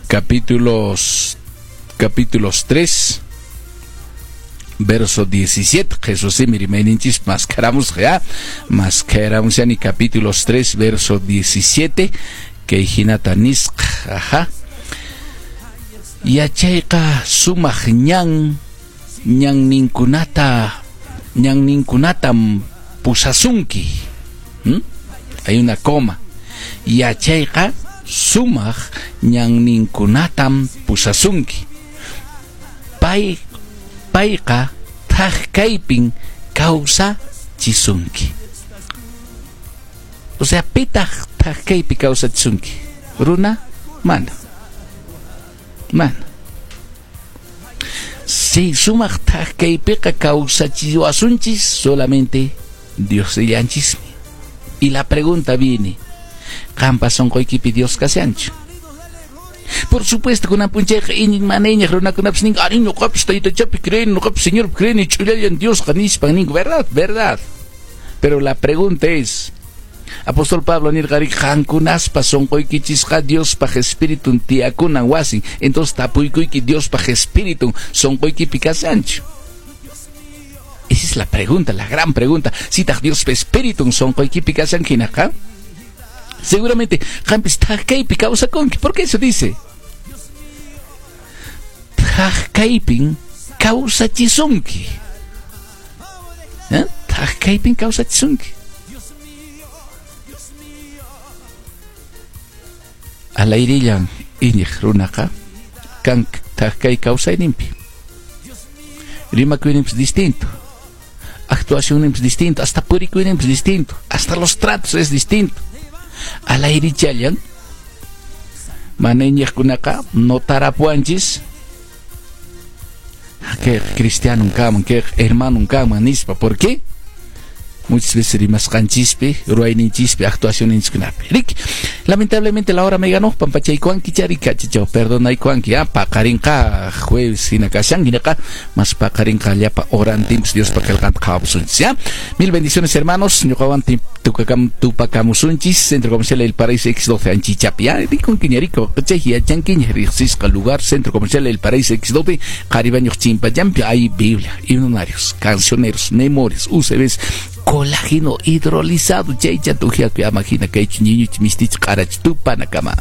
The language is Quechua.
Capítulos 3 verso 17. Jesús rimayninchis mascaramos ya, mascaramos ya ni capítulos 3 verso 17 kay hinata nisqa, ajá. Yachayqa sumaq ñan ñanninkunatam pusasunki. Hay una coma. Yachayqa sumaq ñanninkunatam pusasunki. Payqa thak kaypin kawsachisunki. O sea, pitaq thak kaypi kawsachisunki? Runa? Mana. Mana. Si sumaq thak kaypiqa kawsachiwasunchis solamente Diosllanchismi. Y la pregunta viene, qampa sunquykipi Dios kashanchu? Por supuesto, kunan p'unchayqa iñiq mana iñiq runakunapis ninku, ari ñuqapis taytachapi creeni, ñuqapis Señorpi creeni, ch'ullallan Diosqa nispan ninku, verdad, verdad. Pero la pregunta es, Apóstol Pablo nirqari qankunaspa sunquykichisqa Diospaq Espiritun tiyakunan wasin. Entonces tapuykuyki Diospaq Espiritun sunquykipi kashanchu? Esa es la pregunta, la gran pregunta. Sitaq Diospa Espiritun sunquykipi kashan hinaqa, seguramente qampis thak kaypi kawsakunki. ¿Por qué eso dice? Thak kaypin kawsachisunki. ¿Eh? Thak kaypin kawsachisunki. Alayrillan iñiq runaqa kan thak kay kawsayninpi. Rimakuyninpis distinto. Actuacionninpis distinto, hasta purikuyninpis distinto, hasta los tratos es distinto. Alayrichallan mana iñiqkunaqa notarapuanchis que cristiano kaman, que hermano kaman nispa. ¿Por qué? Muchas veces rimasqanchispi, ruwayninchispi, actuacionninchiskunapi. Rik, lamentablemente la hora me ganó, pampachaykuanki charika, chicho, perdonaykuanki, paqarinqa jueves hina kashan, hinaqa, mas paqarinqa llapa orantimpis Diospa qillqanta qhawapusunchis, ya. Mil bendiciones, hermanos, ñuqawan tupakamusunchis, Centro Comercial El Paraíso X12 Anchichapi, ya, rikunkiña, rico, chay yachankiña, riqsisqa lugar, Centro Comercial El Paraíso X12, Qharibañuq Chimpallampi, hay Biblia, himnarios, cancioneros, memorias, UCBs, colágeno hidrolizado, chaycha tujiakuy ama hina kaychu ñiñuch mistich q'arach tupanakama.